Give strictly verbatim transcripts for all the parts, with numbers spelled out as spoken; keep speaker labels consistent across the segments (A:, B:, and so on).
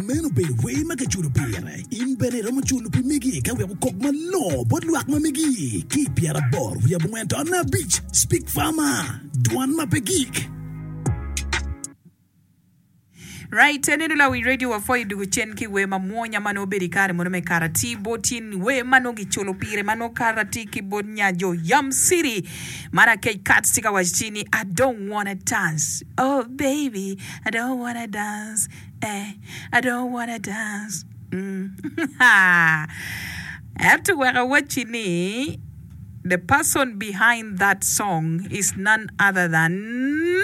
A: Meno obedo wer ma kiculo pire. In bene iromo culo pi megi ka wek okok malongo bot lwak ma megi. Ki i pyeraboro wiye abongwen taun abic, Speak Farmer, dwan ma pe gik.
B: Right, aneno lawi radio wapwoyo dugu cen ki wer mamwonya ma nongo obedo i kare mono me karati bot in wer ma nongo giculo pire ma nongo karati ki bot nya jo Yam City man Akec Kats tye ka waco ci ni I don't wanna dance oh baby I don't wanna dance eh I don't wanna dance mm. Ento wek awacci ni the person behind that song is none other than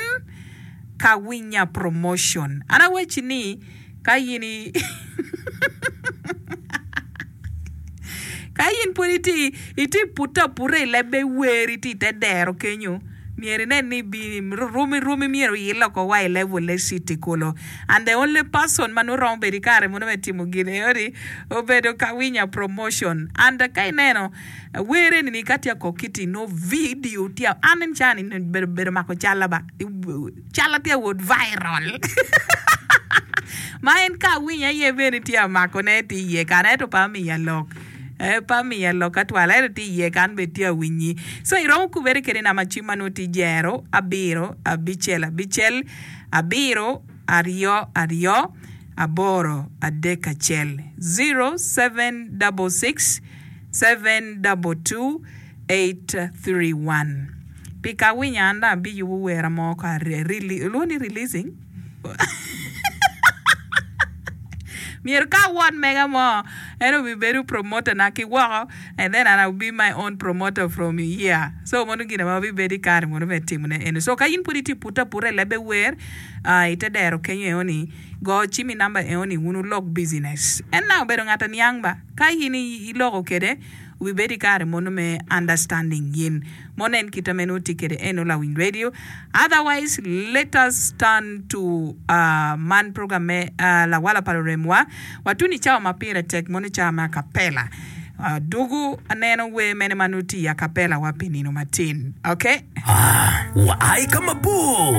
B: Kawinya Promotion. An awacci ni ka in i ka in pud itye itye pute aputa i leb me wer itye i te dero kenyo myero inen ni rwom rwomi myero oil oko wa i level e city kulu and the only person ma nongo romo bedo i kare mono me timo gin eno-ni obedo Kawinya Promotion and ka ineno wer eni-ni ka tye ka kok iti nongo video tye an en caa ni bedo bedo mako calla ba calla tye wot viral ma en ka awinyo aye bene tye amakone tye iye kan ento pe amiya lok pe amiya lok atwal ento tye iye kan bene tye awinyi so iromo kubere kede namba cim ma nongo tye jero abiro abicel abicel abiro aryo aryo aboro adek acel zero seven double six seven double two eight three one Pi ka awinyo an dong abiyubo wera mo ka ilwongo ni releasing myero ka awot mega mo en obibedo promoter na ki woko and then I will be my own promoter from here so mono gin ma wabibedo i kare mono me timone eno so ka in pud itye pute aputa i lebbe wer ite dero kenyo eno ni go cim i namba eno ni wun wulok business en nang obedo ngat aniang ba ka in iloko kede obibedo i kare mono me understanding gin mono en kite ma en tye kwede eno lawiny radio otherwise let us turn to uh, man program me uh, lawala pa luremwa watuni cawa ma pire tek mono cawa me acapella uh, dugu aneno wer mene ma nongo tye i acapella wa pi nino matin okay
A: Ah, wa ai ka mabor.